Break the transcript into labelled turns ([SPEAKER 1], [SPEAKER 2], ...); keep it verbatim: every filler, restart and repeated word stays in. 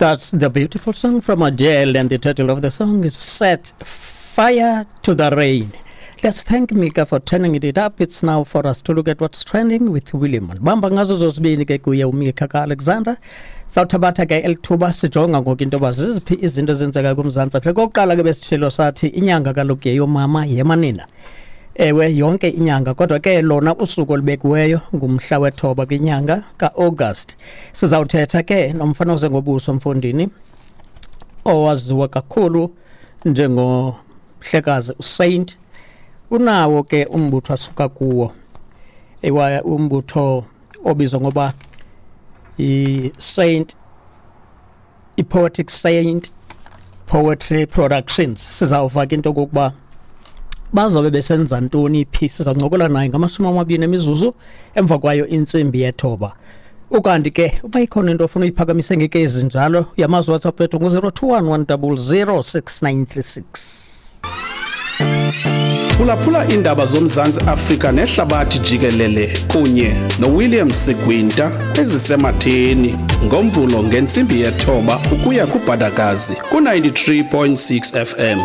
[SPEAKER 1] That's the beautiful song from Adele, and the title of the song is Set Fire to the Rain. Let's thank Mika for turning it up. It's now for us to look at what's trending with William. Bamba ngazo zozibini ke kuye uMika kaAlexander. Sawuthabatha ke elithuba sijonga ngoku into yoba ziziphi izinto ezenzeka kuMzantsi Afrika. Okokuqala ke besitshilo sathi inyanga kaloku yeyomama yemanina. Ewe, yonke inyanga, kodwa ke lona usuku olubekiweyo ngumhla wethoba kwinyanga kaAugust. Sizawuthetha ke nomfana ozengobuso mfondini owaziwa kakhulu njengomhlekazi uSaint. Unawo ke umbutho asuka kuwo, ewa umbutho obizwa ngoba i-Saint i-Poetic Saint Poetry Productions. Sizawuva ke into okokuba bazobe besenza ntoni phi. Sizawuncokola naye ngamashumi amabini emizuzu emva kwayo intsimbi yethoba. Ukanti ke uba ikhona into ofuna uyiphakamise ngeke ezinjalo, uyamazi WhatsApp wethu ngu-zero two one one double zero six nine three six.
[SPEAKER 2] Phulaphula iindaba zoMzantsi Afrika nehlabathi jikelele kunye noWilliam Sigwinta ezisematheni ngoMvulo ngentsimbi yethoba ukuya kuBhadakazi ku-ninety-three point six F M.